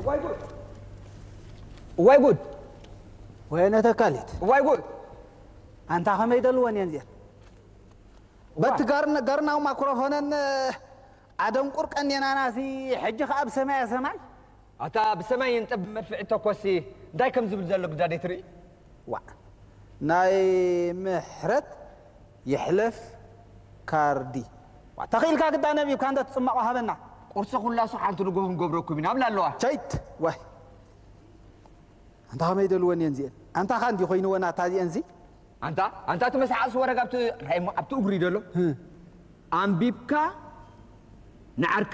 ዋይ ጉድ! ዋይ ጉድ! ወይነ ተካሊት ዋይ ጉድ! ኣንታ ከመይ ደልወን እየን እዚአን በቲ ጋርና- ጋርናዊ ማክሮፎነን ኣደንቁር ቀኔናናሲ ሕጂ ከኣ ብሰማያ ሰማይ ኣታ ብሰማይ ይንጠብ መድፍዒ ተኮሲ እንታይ ከም ዝብል ዘሎ ግዳዴ ትርኢ? ዋ ናይ ምሕረት ይሕለፍ ካርዲ ዋ ተኽኢልካ ግዳ ነቢብካ እንዶ ትጽመቕ ሃበና ቁርሲ ኩላሱ ሓንቲ ንጎ ክንገብረኩም ኢና ብላ ኣለዋ። ቸይት ዋይ ኣንታ ከመይ ደልወን እየን እዚአን ኣንታ ኻ እንዲ ኮይንወን ኣታ እዚአን ዚ ኣንታ ኣንታ እቲ መስሓቕሲ ወረግ ኣብቲ ራእሞ ኣብቲ እግሪ ደሎ ኣንቢብካ ንዓርካ